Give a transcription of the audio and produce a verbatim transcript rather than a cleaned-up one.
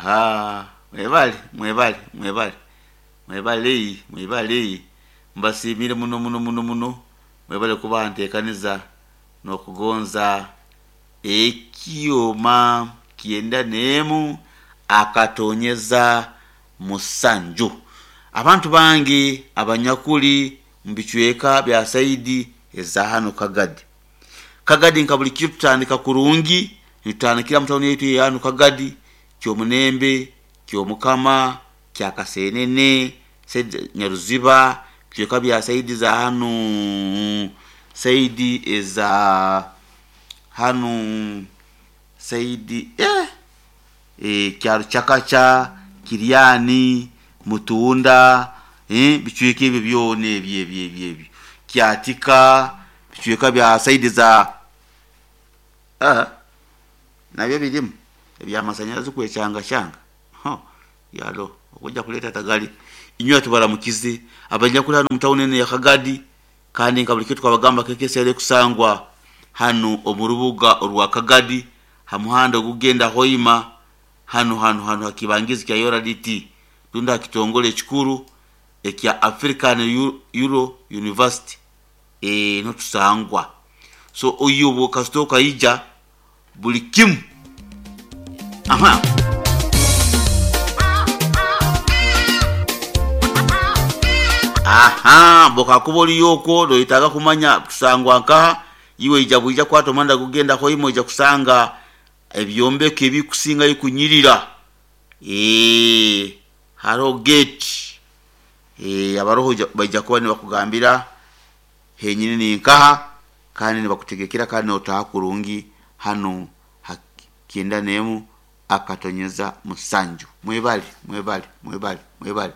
Aha, mwebale, mwebale, mwebale, mwebale, mwebale, mbasiimire muno muno muno muno. Mwebale kuba nteekaniza n'okugonza ekyoma kyenda n'emu akatonyeza musanju. Abantu bange abanyakuli mu bicweka bya saidi eza hanu Kagadi. Kagadi nka buli kiro tutandika kurungi, nitutandikira mu tawuni yaitu eya hanu Kagadi, Kyomunembe, Kyomukama, Kyakasenene, saidi Nyaruziba, bicweka bya saidi za hanu, saidi eza hanu, saidi eh, eh, Kyarukyakakya, Kiryani, Mutunda, eh, bicweka ebyo byona ebyo ebyo ebyo ebyo Kyatika, bicweka bya saidi za ah, nabyo birimu ebyamasanyarazi kwekyangashanga. Ho yalo okujja kuleeta tagali inywe tubaramukize abanyakuli hanu mu tawuni enu ya Kagadi. Kandi nka buli kiro twabagamba K K C R ekusangwa hanu omu rubuga orwa Kagadi, ha muhanda ogugenda Hoima, hanu hanu hanu hakibangizi kya U R D T rundi ha kitongole ekikuru ekya African Euro University e, niho tusangwa. So oyo obwo kasita okaija buli kimu. Aha, aha, bokakuba oliyo okwo noyetaaga kumanya tusangwa nkaha, iwe ija bwija kwata omuhanda gugenda Hoima, ojja kusanga ebyombeko ebikusingayo kunyirira. Ee, hariho gate, ee, abaroho baija kuba nibakugambira henyini ninkaha, kandi nibakutegekera, kandi notaha kurungi hanu ha kyenda n'emu akatonyeza musanju. Mwebale, mwebale, mwebale, mwebale.